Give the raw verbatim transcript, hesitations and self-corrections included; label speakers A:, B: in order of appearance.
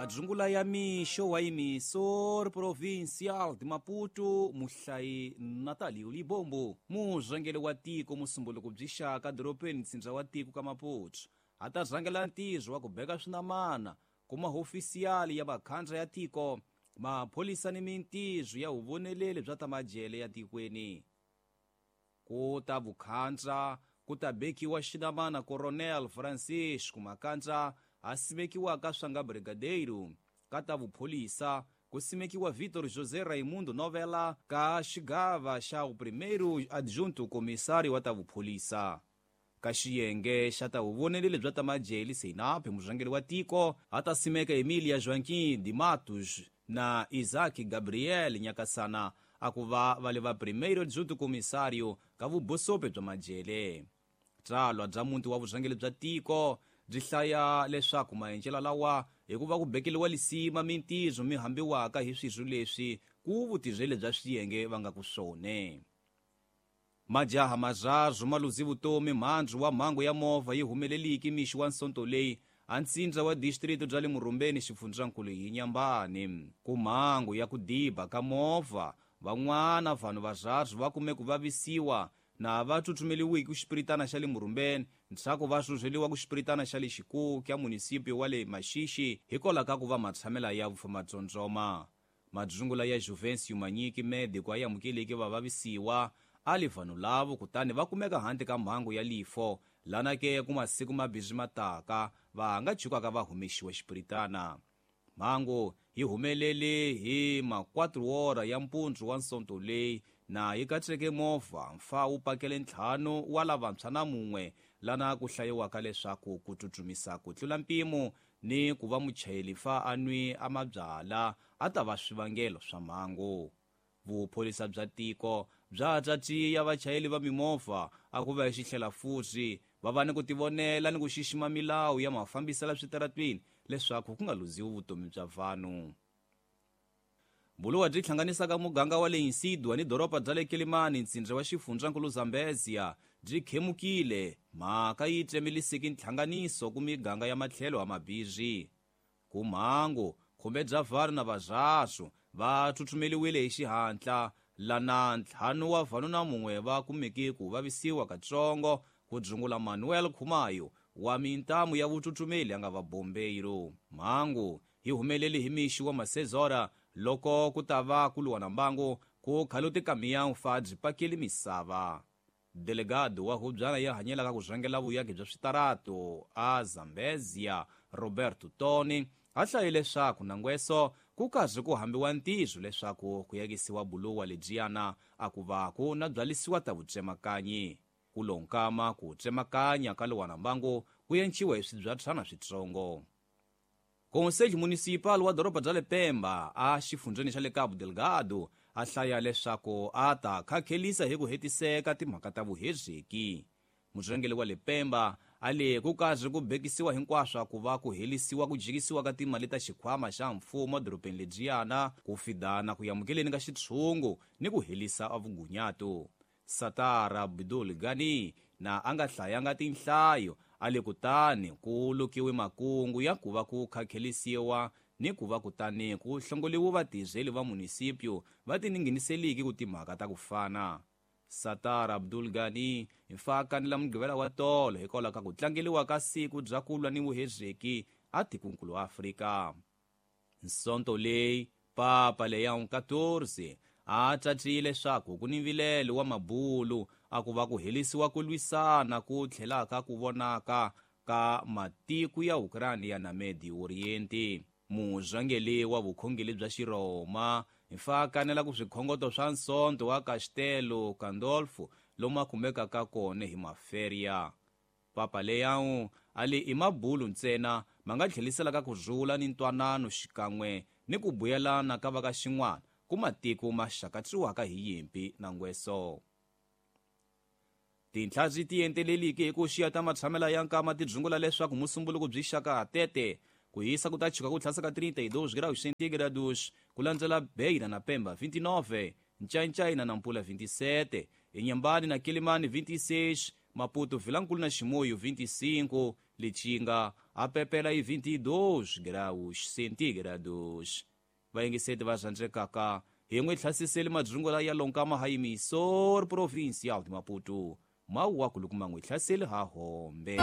A: Madzungula ya mixo wa Emissor Provincial de Maputo, muhlayi Natalio Libombo, murhangeri wa tiko musumbuluko byi xaka dorobeni ntsindza wa tiko ka Maputo, a ta rhangela ntirho wa ku beka swinamana ku mahofisiyali ya vakhandla ya tiko, mapholisa ni mintirho ya vuvoneleli bya ta majele ya tikweni. Ku ta vukhandla ku ta bekiwa xinamana Coronel Francisco Makandla a simekiwaka swanga brigadeiro, ka ta vupholisa ku simekiwa Vitor José Raimundo Novela ka xigava xa o primeiro adjunto comissário wa ta vupholisa. Ka xiyenge xa ta vuvoneleli bya ta majele Seinape murhangeri wa tiko a ta simeka Emilia Joaquim de Matos na Isaac Gabriel Nyakasana a ku va va le va primeiro adjunto comissário ka vubosope bya majele. Tsalwa bya muti wa vurhangeri bya tiko byi hlaya leswaku maendlelo lawa hikuva ku bekeliwa lisima mintirho mi hambiwaka hi swirho leswi ku vutirheli bya swiyenge va nga ku swone. Majaha marharhu ma luzi vutomi mhandzu wa mhangu ya movha yi humeleliki mixo wa nsonto leyi a ntsindza wa distrito bya le Murumbeni xifundzankulu hi Nyambani. Ku mhangu ya ku diba ka movha van'wana vanhu varharhu va kume ku vavisiwa na va tsutsumeliwiki ku xipiritana xa le Murumbeni ndzhaku va rhurheliwa ku xipiritana xa le Xikuku ya munisipio wa le Maxixi hikwalaho ka ku va matshamela ya vufamatsotsoma. Madzungula ya Juvencio Manyiki médico a amukeleki va vavisiwa a li vanhu lavo kutani va kumeka handle ka mhangu ya lifo lana ke ku masiku mabirhi mataka va nga chukaka va humexiwa xipiritana. Mhangu yi humelele hi ma quatro hora ya mpundzu wa nsonto leyi na yi katseke movha mfa wu pakele ntlhanu wa lavantshwa na mun'we lana ku hlayiwaka leswaku ku tsutsumisa ku tlula mpimo ni ku va muchayeri fa a nwi a mabyala a ta va swivangelo swa mhangu. Vupholisa bya tiko bya tatiya vachayeri va mimovha a ku va hi xihlela futhi va va ni ku tivonela ni ku xixima milawu ya mafambiselo switaratwini leswaku ku nga luziwi vutomi bya vanhu. Buluwa byi hlanganisaka muganga wa le Insidwa ni doroba bya le Quelimane ntsindza wa xifundzankulu Zambezia byi khemukile mhaka yi tsemeliseke nhlanganiso ku miganga ya matlhelo ya mabirhi. Ku mhangu khume bya vanhu na varharhu va tsutsumeliwile hi xihatla lana ntlhanu wa vanhu na mun'we va kumeke ku vavisiwa katsongo ku dzungula Manuel Khumayo wa mintamu ya vutsutsumeli a nga va bombeiro. Mhangu yi humelele hi mixo wa masezora loko ku ta va ku lwa na mbangu ku khaluti kamiya fa byi pakeli misava. Delegado wa hubyana ya hanyelaka ku rhangela vuyaki bya switarato a Zambezia Roberto Toni a hlaye leswaku nangweso ku karhi ku hambiwa ntirho leswaku ku yakisiwa buluwa lebyiyana a ku va ku na byalisiwa ta vutsemakanyi. Ku lonkama ku tsemakanya ka lowa na mbangu ku enciwa hi swibyatshana switsongo. Conselho Municipal wa doroba bya le Pemba a xifundzeni xa le Cabo Delgado a hlaya leswaku a ta khakhelisa hi ku hetiseka timhaka ta vuhezeki. Murhangeri wa le Pemba a le ku karhi ku bekisiwa hinkwaswo ku va ku helisiwa ku jikisiwa ka timali ta xikhwama xa mfumo dorobeni lebyiyana ku fidana ku amukeleni ka xitshungu ni ku helisa vugunyato. Satara Abdul Gani na a nga hlayanga tinhlayo a le kutani ku lukiwe makungu ya ku va ku khakhelisiwa ni ku va kutani ku hlongoliwa vatirheli va munisipio va tininginiseliki ku timhaka ta ku fana. Satara Abdul Gani hi fakani la Mugqivela wa tolo hikwalaho ka ku tlangeliwa ka siku bya ku lwa ni vuhezeki a tikonkulu Afrika. Nsonto leyi Papa Leon quatorze a tsatile leswaku ku ni mvilelo wa mabulu a ku va ku helisiwa ku lwisana ku tlhelaka ku vonaka ka matiko ya Ukraine na Medio Oriente. Murhangeri wa vukhongeri bya Xirhoma hi fakanela ku swikhongoto swa nsonto wa Castelo Gandolfo lomu a kumekaka kona hi maferia. Papa Leon a li i mabulu ntsena ma nga tlheliselaka ku rhula ni ntwanano xikan'we ni ku buyelana ka va ka xin'wana ku matiko ma xakatsiwaka hi yimpi na ngweso. Tinhla byi tienteleliki hi ku xiya ta matshamela ya nkama ti dzungula leswaku musumbuluko byi xaka tete ku hisa ku ta chika ku tlhasa ka trinta e dois graus centígrados ku landzela Beira na Pemba vinte e nove, Nchainchaina na Nampula vinte e sete, Inhambane na Quelimane vinte e seis, Maputo Vilankulu na Chimoio vinte e cinco, Lichinga a pepela e vinte e dois graus centígrados. Vaingiseti va zandrekaka hi n'wi hlasiseli madzungu ya lonkama ha yimisor provincial de Maputo. Mawu wa kulukuma n'wi hlaseli ha hombe.